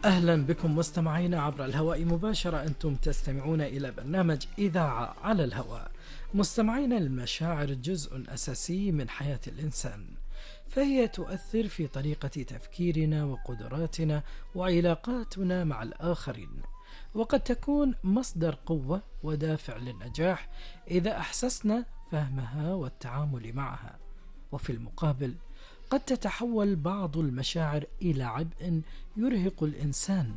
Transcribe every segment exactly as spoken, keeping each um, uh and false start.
أهلا بكم مستمعينا عبر الهواء مباشرة. أنتم تستمعون إلى برنامج إذاعة على الهواء. مستمعينا، المشاعر جزء أساسي من حياة الإنسان، فهي تؤثر في طريقة تفكيرنا وقدراتنا وعلاقاتنا مع الآخرين، وقد تكون مصدر قوة ودافع للنجاح إذا أحسسنا فهمها والتعامل معها. وفي المقابل قد تتحول بعض المشاعر إلى عبء يرهق الإنسان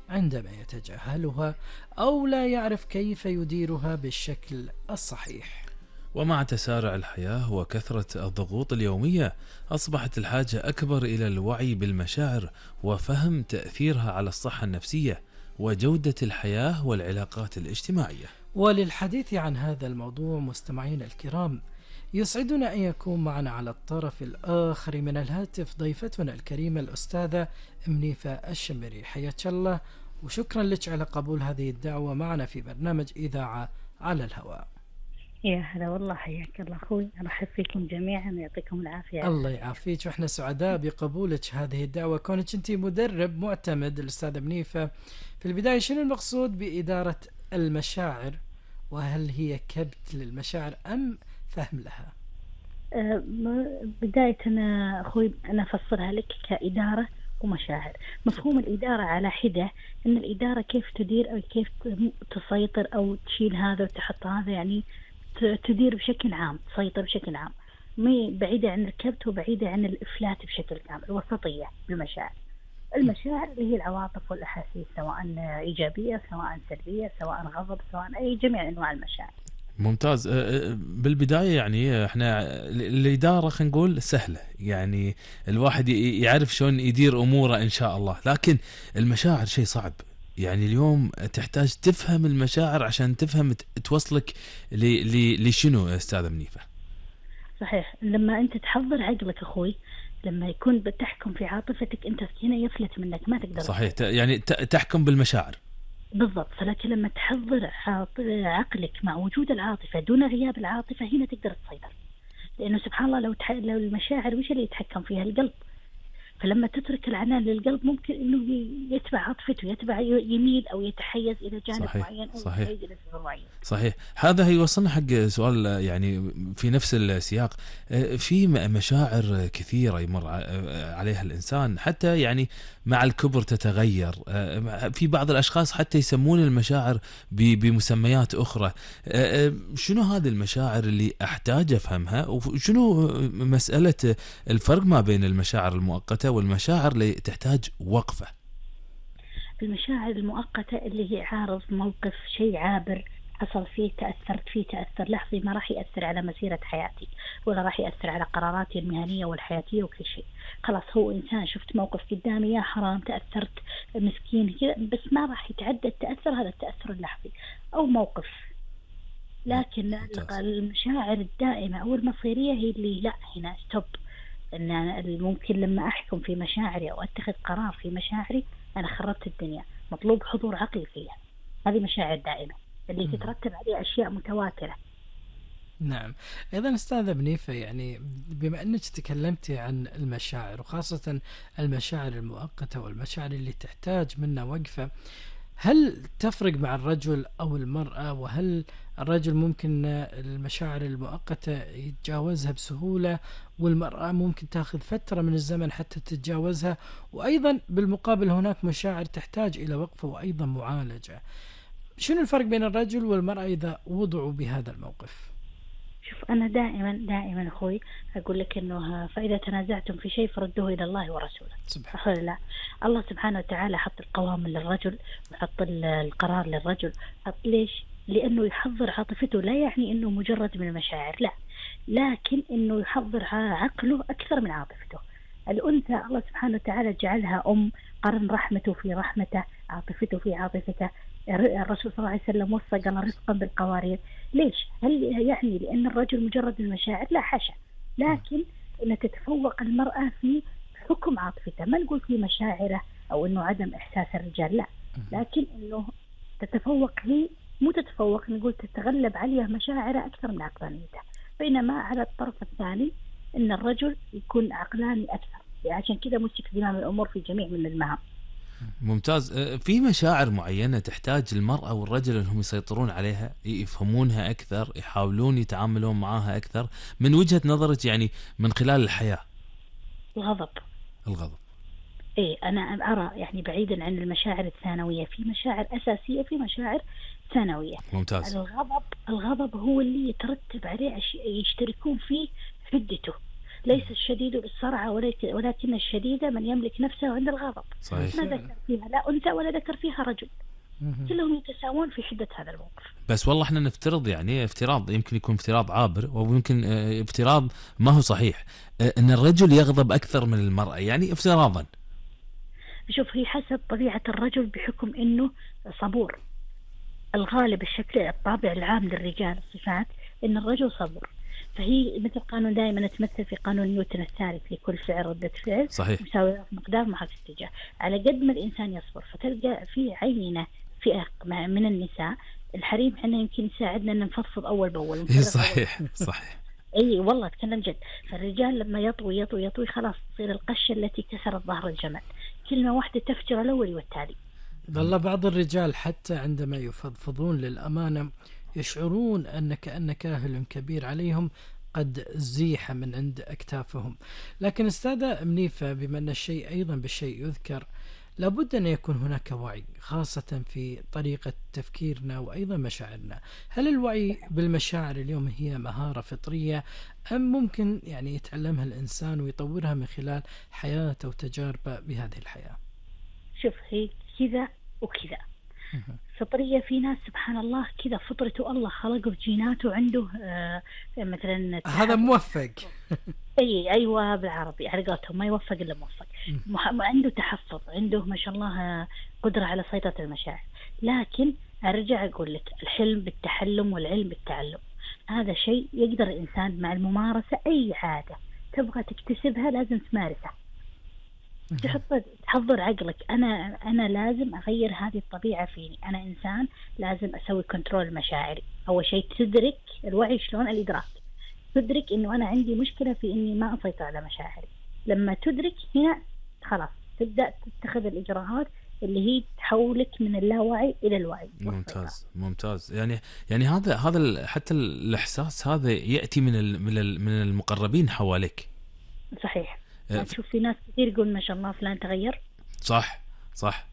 عندما يتجاهلها أو لا يعرف كيف يديرها بالشكل الصحيح. ومع تسارع الحياة وكثرة الضغوط اليومية، أصبحت الحاجة أكبر إلى الوعي بالمشاعر وفهم تأثيرها على الصحة النفسية وجودة الحياة والعلاقات الاجتماعية. وللحديث عن هذا الموضوع مستمعينا الكرام، يسعدنا أن يكون معنا على الطرف الآخر من الهاتف ضيفتنا الكريمة الأستاذة منيفة الشمري. حياك الله وشكرا لك على قبول هذه الدعوة معنا في برنامج إذاعة على الهواء. يا هلا والله، حياك الله أخوي، أرحب فيكم جميعا ويعطيكم العافية. الله يعافيك، وإحنا سعداء بقبولك هذه الدعوة كونك أنت مدرب معتمد الأستاذة منيفة. في البداية، شنو المقصود بإدارة المشاعر؟ وهل هي كبت للمشاعر أم فهم لها؟ أه بداية أنا أخوي أنا أفصلها لك كإدارة ومشاعر. مفهوم الإدارة على حدة، أن الإدارة كيف تدير أو كيف تسيطر أو تشيل هذا وتحط هذا، يعني تدير بشكل عام، تسيطر بشكل عام، بعيدة عن الكبت وبعيدة عن الإفلات بشكل كامل. وسطية بالمشاعر. المشاعر اللي هي العواطف والأحاسيس، سواء إيجابية سواء سلبية سواء غضب سواء أي جميع أنواع المشاعر. ممتاز. بالبداية يعني احنا الإدارة خلينا نقول سهلة، يعني الواحد يعرف شلون يدير أموره إن شاء الله، لكن المشاعر شيء صعب. يعني اليوم تحتاج تفهم المشاعر عشان تفهم توصلك لشنو أستاذة منيفة. صحيح. لما أنت تحضر عقلك أخوي، لما يكون بتحكم في عاطفتك أنت هنا يفلت منك، ما تقدر. صحيح. يعني تحكم بالمشاعر بالضبط. فلكن لما تحضر عقلك مع وجود العاطفة دون غياب العاطفة، هنا تقدر تسيطر. لأنه سبحان الله، لو, تح... لو المشاعر وش اللي يتحكم فيها؟ القلب. فلما تترك العنان للقلب ممكن انه يتبع عاطفته، يتبع يميل او يتحيز الى جانب صحيح. معين او صحيح. يتحيز الى سبب معين. صحيح. هذا هيوصلنا حق سؤال يعني في نفس السياق. في مشاعر كثيرة يمر عليها الانسان، حتى يعني مع الكبر تتغير. في بعض الاشخاص حتى يسمون المشاعر بمسميات اخرى. شنو هذه المشاعر اللي احتاج افهمها؟ وشنو مسألة الفرق ما بين المشاعر المؤقتة والمشاعر اللي تحتاج وقفة؟ المشاعر المؤقتة اللي هي عارض موقف، شيء عابر حصل فيه، تأثرت فيه تأثر لحظي، ما راح يأثر على مسيرة حياتي ولا راح يأثر على قراراتي المهنية والحياتية وكل شيء. خلاص، هو إنسان، شفت موقف قدامي يا حرام تأثرت، مسكين كذا، بس ما راح يتعدى التأثر هذا التأثر اللحظي أو موقف. لكن المشاعر الدائمة أو المصيرية هي اللي لا، هنا ستوب. أن ممكن لما أحكم في مشاعري أو أتخذ قرار في مشاعري أنا خربت الدنيا، مطلوب حضور عقلي فيها. هذه مشاعر دائمة اللي تترتب عليها أشياء متواترة. نعم. أيضا أستاذة منيفة، يعني بما أنك تكلمتي عن المشاعر وخاصة المشاعر المؤقتة والمشاعر اللي تحتاج منا وقفة، هل تفرق مع الرجل أو المرأة؟ وهل الرجل ممكن المشاعر المؤقتة يتجاوزها بسهولة، والمرأة ممكن تأخذ فترة من الزمن حتى تتجاوزها؟ وأيضا بالمقابل هناك مشاعر تحتاج إلى وقفة وأيضا معالجة. شنو الفرق بين الرجل والمرأة إذا وضعوا بهذا الموقف؟ شوف، أنا دائما دائما أخوي أقول لك إنه فإذا تنازعتم في شيء فردوه إلى الله ورسوله. سبحان الله. الله سبحانه وتعالى حط القوام للرجل وحط القرار للرجل. حط ليش؟ لأنه يحضر عاطفته، لا يعني إنه مجرد من المشاعر، لا، لكن إنه يحضر عقله أكثر من عاطفته. الأنثى الله سبحانه وتعالى جعلها أم، قرن رحمته في رحمته، عاطفته في عاطفته. الرسول صلى الله عليه وسلم وصى قال رزقا بالقوارير. ليش؟ هل يعني لأن الرجل مجرد المشاعر؟ لا حاشا، لكن أن تتفوق المرأة في حكم عاطفتها. ما نقول في مشاعره أو أنه عدم إحساس الرجال، لا، لكن أنه تتفوق، هي مو تتفوق، نقول تتغلب عليها مشاعره أكثر من عقلانيته. بينما على الطرف الثاني أن الرجل يكون عقلاني أكثر، عشان كذا مسك زمام الأمور في جميع من المهام. ممتاز. في مشاعر معينة تحتاج المرأة والرجل أنهم يسيطرون عليها، يفهمونها أكثر، يحاولون يتعاملون معها أكثر من وجهة نظرك يعني من خلال الحياة؟ الغضب. الغضب. إيه أنا أرى يعني بعيدا عن المشاعر الثانوية، في مشاعر أساسية، في مشاعر ثانوية. ممتاز. الغضب الغضب هو اللي يترتب عليه يشتركون فيه حدته. ليس الشديد بالسرعة ولكن الشديد من يملك نفسه عند الغضب. صحيح. ما ذكر فيها لا أنثى ولا ذكر فيها رجل، كلهم يتساوون في حدة هذا الموقف. بس والله احنا نفترض يعني افتراض، يمكن يكون افتراض عابر ويمكن اه افتراض ما هو صحيح، اه ان الرجل يغضب أكثر من المرأة، يعني افتراضا. شوف هي حسب طبيعة الرجل بحكم إنه صبور. الغالب الشكل الطابع العام للرجال الصفات إن الرجل صبور، فهي مثل قانون دائما تمثل في قانون نيوتن الثالث، لكل فعل ردة فعل صحيح. مساوية في مقدار مع في اتجاه. على قد ما الإنسان يصبر فتلقى في عينة فئة من النساء الحريم احنا يمكن يساعدنا ان نفضفض اول باول. صحيح صحيح. اي والله اتكلم جد. فالرجال لما يطوي يطوي يطوي خلاص تصير القشة التي كسرت ظهر الجمل، كلمة واحدة تفجر الأول والتالي. والله بعض الرجال حتى عندما يفضفضون للأمانة يشعرون أن كأن كاهل كبير عليهم قد زيح من عند أكتافهم. لكن أستاذة منيفة، بما أن الشيء أيضا بالشيء يذكر، لابد أن يكون هناك وعي خاصة في طريقة تفكيرنا وأيضا مشاعرنا. هل الوعي بالمشاعر اليوم هي مهارة فطرية أم ممكن يعني يتعلمها الإنسان ويطورها من خلال حياته وتجاربه بهذه الحياة؟ شوف هي كذا وكذا. فطرية في ناس سبحان الله كذا فطرته الله خلقه بجيناته عنده آه مثلا هذا موفق. اي ايوه بالعربي على قولتهم ما يوفق الا موفق. عنده تحفظ، عنده ما شاء الله قدرة على سيطرة المشاعر. لكن ارجع اقول لك الحلم بالتحلم والعلم بالتعلم، هذا شيء يقدر الانسان مع الممارسة. اي عادة تبغى تكتسبها لازم تمارسها، تحط تحضر عقلك. أنا أنا لازم أغير هذه الطبيعة فيني، أنا إنسان لازم أسوي كنترول مشاعري. أول شيء تدرك الوعي، شلون الإدراك، تدرك إنه أنا عندي مشكلة في إني ما أسيطر على مشاعري. لما تدرك هنا خلاص تبدأ تتخذ الإجراءات اللي هي تحولك من اللاوعي إلى الوعي. ممتاز ممتاز. يعني يعني هذا هذا حتى الإحساس هذا يأتي من من المقربين حواليك. صحيح. تشوف في ناس كثير يقول ما شاء الله فلان تغير. صح صح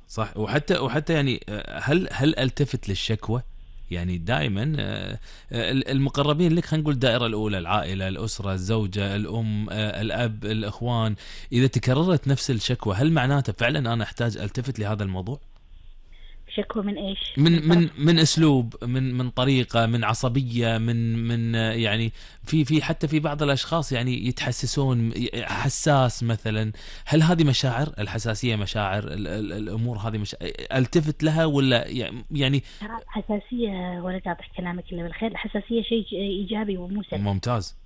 صح. وحتى وحتى يعني هل هل التفت للشكوى؟ يعني دائما المقربين لك، خلينا نقول الدائرة الأولى، العائلة، الأسرة، الزوجة، الأم، الأب، الإخوان، إذا تكررت نفس الشكوى هل معناته فعلا أنا أحتاج التفت لهذا الموضوع؟ شكوى من ايش؟ من من من اسلوب، من من طريقه، من عصبيه، من من يعني في في حتى في بعض الاشخاص يعني يتحسسون حساس مثلا. هل هذه مشاعر الحساسيه مشاعر الامور هذه مش التفت لها ولا يعني حساسيه؟ ولا قاطع كلامك الا بالخير. الحساسيه شيء ايجابي ومو سلبي. ممتاز.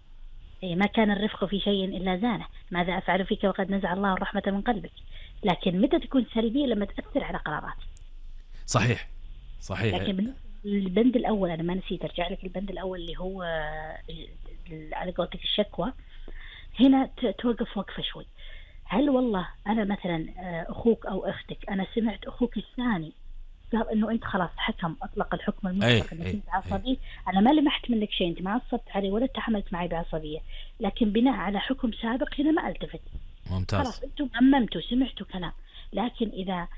اي ما كان الرفق في شيء الا زانه، ماذا افعل فيك وقد نزع الله الرحمه من قلبك. لكن متى تكون سلبية؟ لما تاثر على قرارات. صحيح صحيح. لكن البند الأول أنا ما نسيت أرجع لك، البند الأول اللي هو على قولتك الشكوى، هنا توقف وقفة شوي. هل والله أنا مثلا أخوك أو أختك أنا سمعت أخوك الثاني قال إنه أنت خلاص حكم أطلق الحكم المطلق إنك أنت عصبي، أنا ما لمحت منك شيء، أنت ما عصبت علي ولا تحملت معي بعصبية، لكن بناء على حكم سابق هنا ما التفت. ممتاز. خلاص أنتم أممتوا سمعتوا كلام. لكن إذا